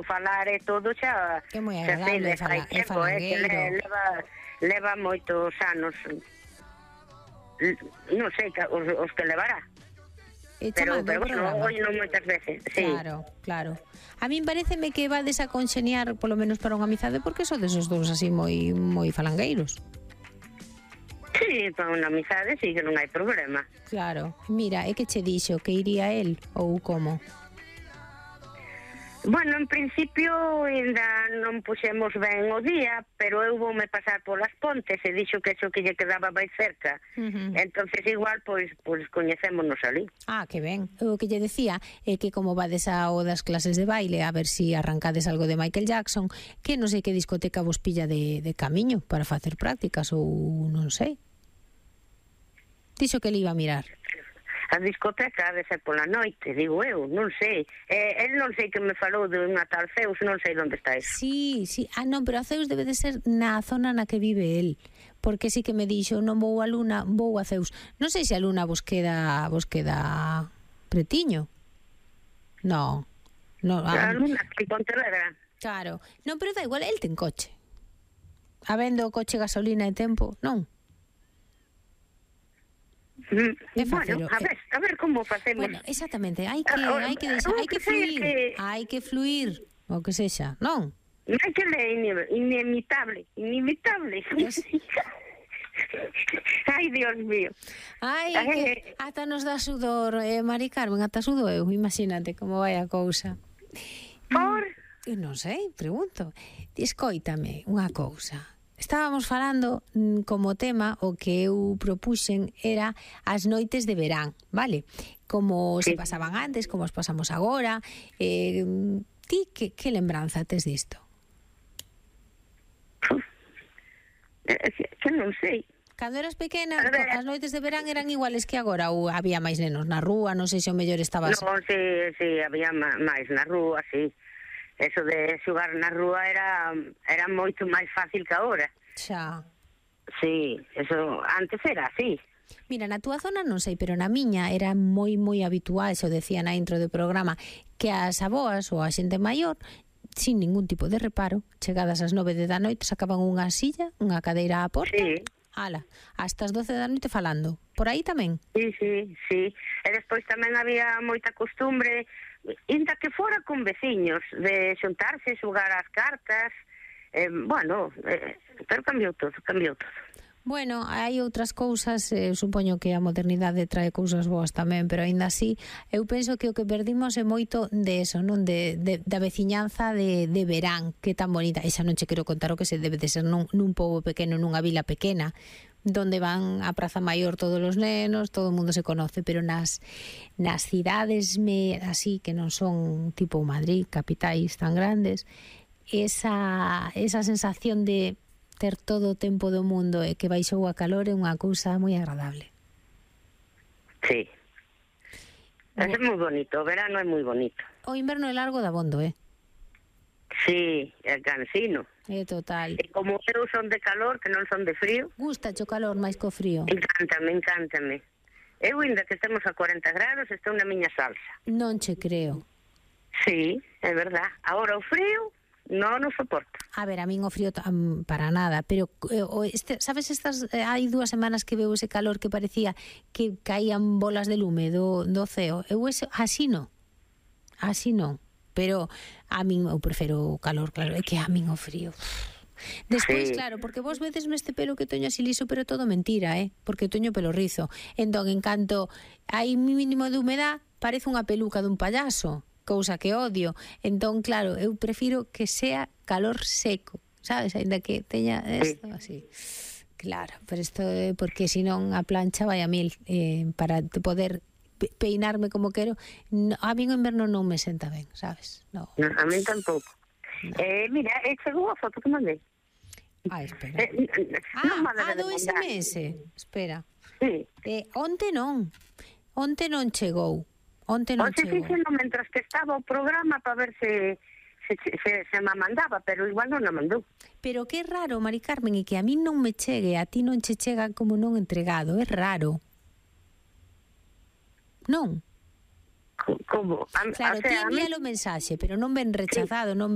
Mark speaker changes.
Speaker 1: falar e todo xa...
Speaker 2: É moi agradable, é falangueiro.
Speaker 1: Leva moitos anos. Non sei os que levará. Pero bueno, oi non moitas veces, sí.
Speaker 2: Claro. A min pareceme que vades a conxeniar, polo menos para unha amizade, porque sodes os dous así moi falangueiros.
Speaker 1: Sí, para unha amizade sí que non hai problema.
Speaker 2: Claro. Mira, é que che dixo que iría el ou como?
Speaker 1: Bueno, en principio ainda non puxemos ben o día, pero eu voume pasar polas Pontes e dixo que eso que lle quedaba máis cerca. Entonces igual, pois coñecémonos ali.
Speaker 2: Ah, que ben. O que lle decía é que como vades ao das clases de baile, a ver si arrancades algo de Michael Jackson, que non sei que discoteca vos pilla de camiño para facer prácticas ou non sei. Dixo que le iba a mirar.
Speaker 1: A discoteca ha de ser pola noite, digo eu, non sei. El non sei que me falou de unha tal Zeus, non sei onde está eso.
Speaker 2: Sí. Ah, non, pero a Zeus debe de ser na zona na que vive el. Porque sí que me dixo, non vou a Luna, vou a Zeus. Non sei se a Luna vos queda pretiño. No.
Speaker 1: A Luna, que Pontevedra.
Speaker 2: Claro. Non, pero da igual, el ten coche. Habendo coche, gasolina e tempo, non?
Speaker 1: Bueno, a ver como facemos.
Speaker 2: Bueno, exactamente, hai que fluir, o que sexa, non?
Speaker 1: Hai que ler inimitable. Ai, Dios mío.
Speaker 2: Ai, que ata nos dá sudor, Mari Carmen, ata sudo eu, imagínate como vai a cousa.
Speaker 1: Por?
Speaker 2: Eu non sei, pregunto. Escoítame unha cousa. Estábamos falando como tema, o que eu propuxen era as noites de verán, vale? Como se pasaban antes, como os pasamos agora. Ti, que lembranza tes disto?
Speaker 1: Que non sei.
Speaker 2: Cando eras pequena, as noites de verán eran iguales que agora, ou había máis nenos na rúa, non sei se o mellor estabas...
Speaker 1: Non, sí, había máis na rúa, sí. Eso de xogar na rúa era moito máis fácil que agora.
Speaker 2: Xa.
Speaker 1: Sí, eso antes era así.
Speaker 2: Mira, na túa zona non sei, pero na miña era moi habitual, xo decía na intro do programa, que as aboas ou a xente maior, sin ningún tipo de reparo, chegadas ás 9 da noite, sacaban unha silla, unha cadeira á porta, ala, hasta as 12 da noite falando. Por aí tamén?
Speaker 1: Sí. E despois tamén había moita costumbre, inda que fora con veciños, de xuntarse, xogar as cartas, pero cambiou todo.
Speaker 2: Bueno, hai outras cousas, supoño que a modernidade trae cousas boas tamén, pero aínda así, eu penso que o que perdimos é moito de eso, non? Da veciñanza de verán, que tan bonita. E xa non che quero contar o que se debe de ser nun pobo pequeno, nunha vila pequena, donde van á Praza Maior todos os nenos, todo o mundo se conoce, pero nas cidades así que non son tipo Madrid, capitais tan grandes, esa sensación de ter todo o tempo do mundo e que baixou a calor é unha cousa moi agradable.
Speaker 1: Sí. É moi bonito, o verano é moi bonito.
Speaker 2: O inverno é largo dabondo,
Speaker 1: Sí, é cansino.
Speaker 2: É total.
Speaker 1: E como eu son de calor, que non son de frío...
Speaker 2: Gusta o calor máis co frío?
Speaker 1: Encántame. Eu, ainda que estemos a 40 grados, estou na miña salsa.
Speaker 2: Non che creo.
Speaker 1: Sí, é verdad. Agora o frío non o soporto.
Speaker 2: A ver, a min o frío para nada, pero sabes, hai 2 semanas que veo ese calor que parecía que caían bolas de lume do ceo. Eu así non. Pero a min eu prefiro o calor, claro, é que a min o frío. Despois, claro, porque vos vedes este pelo que teño así liso, pero todo mentira, porque teño pelo rizo. Entón, en canto hai mínimo de humedad, parece unha peluca dun payaso, cousa que odio. Entón, claro, eu prefiro que sea calor seco, sabes? Ainda que teña isto así. Claro, pero isto é porque senón a plancha vai a mil, para poder peinarme como quero. A mí o inverno non me senta ben, sabes? No,
Speaker 1: a mí tampouco. Mira, chegou a foto que mandei.
Speaker 2: Espera. Do SMS. Espera.
Speaker 1: Sí.
Speaker 2: Onte non chegou. Onte
Speaker 1: fixeno mentras que estaba o programa para ver se me mandaba, pero igual non a mandou.
Speaker 2: Pero que raro, Mari Carmen, e que a mí non me chegue, a ti non che chega como non entregado, é raro. Non?
Speaker 1: Como?
Speaker 2: Claro, ti envíalo mensaxe, pero non ven rechazado, non